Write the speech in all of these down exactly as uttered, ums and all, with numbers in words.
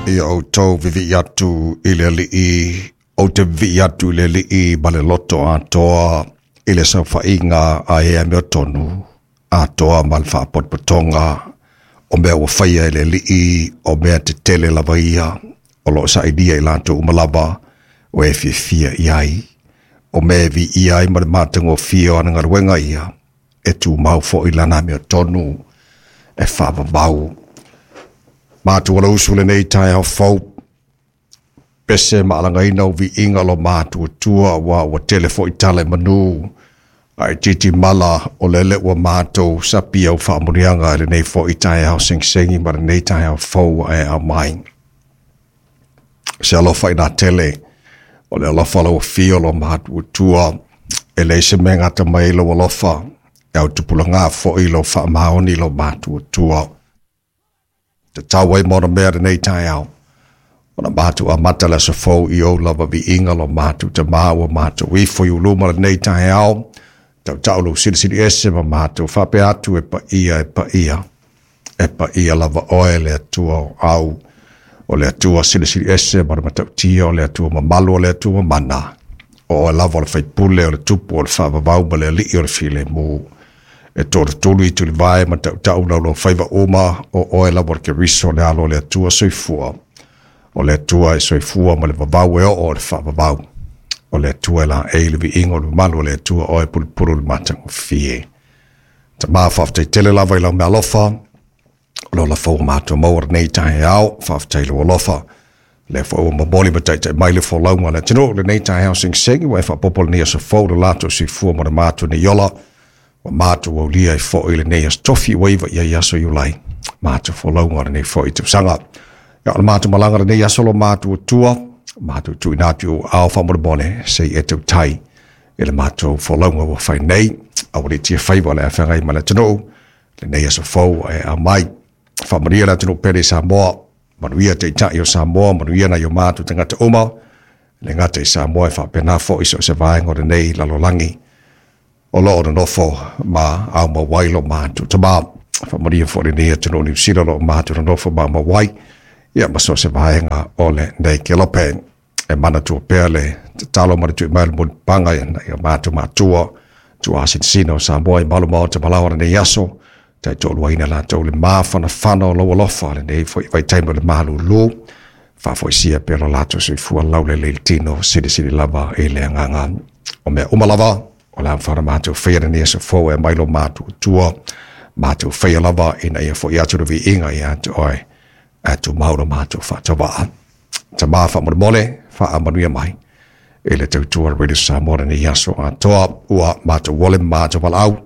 Ia outou vivi'i atu i le Alii, ou te vivi'i atu i le Alii ma le loto atoa i le saofaiga a e amiotonu, atoa ma le faapotopotoga o mea ua faia e le Alii, o mea tetele lava ia, o loo sailia i latou uma lava o e fiafia i ai, o mea e viia ai ma le matagofie o ana galuega ia, e tumau foi lana amiotonu e faavavau. Matou alausu lenei taeao fou, pese ma alagaina o viiga lo matuatua ua ua tele foi tala i manu, ae titi mala o lele ua matou sapi au faamuniaga i lenei foi taeao segisegi ma lenei taeao fou ua e aumai. Se alofa ina tele, o le alofa lau afio lo matuatua, e leai se mea e gata mai ai lou alofa, e autupulaga foi lou faamaoni lo matuatua. Tatau ai ma ona mea lenei taeao, ona matou amata le aso fou i ou lava viiga lo matou Tamā ua matou ifo i uluma lenei taeao, tautau lou silisili ese ma matou faapea atu e paia e paia, e paia lava oe le Atua o au, o le Atua silisili ese ma le matautia, o le Atua mamalu, o le Atua mana, o oe lava o le faipule, o le tupu, o le faavavau ma le alii o le filemu. E tolutolu i tulivae ma tautau laulau faiva uma, o oe lava o le Keriso, le alo o le Atua soifua, o le Atua e soifua ma le vavau e oo o le faavavau, o le Atua e laei le viiga o le mamalu o le Atua oe pulupulu le matagofie. Tamā, faafetai tele lava i lau meaalofa, o lo lafau ua matou maua lenei taeao, faafetai i lou alofa. Lea foi ua momoli ma taitai mai le folauga a le atunuu lenei taeao segisegi, ua e faaopoopo lenei aso fou le latou soifua ma le matou nei ola, ua matou aulia ai foi lenei aso tofi ua iva i ai aso Iulai, matou folauga o lenei foi tausaga. Ia o le matou malaga lenei aso lo matou atua, matou tuuina atu i ou aao faamolemole, se i e tautai i le matou folauga ua fai nei, aua le tia faiva o le afeagai ma le atunuu, lenei aso fou e aumai. Faamanuia le atunuu pele i Samoa, manuia taitai o Samoa, manuia nai o matou tagata uma, le gata i Samoa e faapena foi so o se vaega o lenei lalolagi o loo nonofo ma aumau ai lo matou Tamā. Faamanuia foi lenei atunuu Niu Sila o lo o matou nonofo ma aumau ai, ia ma so o se vaega o lenei kelope. E manatua pea le tatalo ma le tui mai o le mulipapaga ia matou matua, tuasinasina o Samoa i malu maota malaoa lenei aso, taitoaluaina latou le mafanafana o lau alofa lenei foi vaitaimi o le malulu, faafoisia pea lo latou soifua laulelei le tino, silisili lava i le agaga. O mea uma lava, o le a mafai ona matou faia lenei aso fou e aumai lo matou Atua, matou faia lava ina ia foi atu le viiga ia te oe, ae tumau lo matou faatauva. Tamā faamolemole, faamanuia mai i le tautua Radio Samoa lenei aso atoa, ua matou ole ma matou valaau,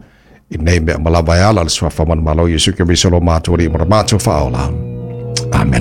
i nei mea ma lava e ala le suafa manumalo Iesu Keriso lo matou Alii ma lo matou Faaola.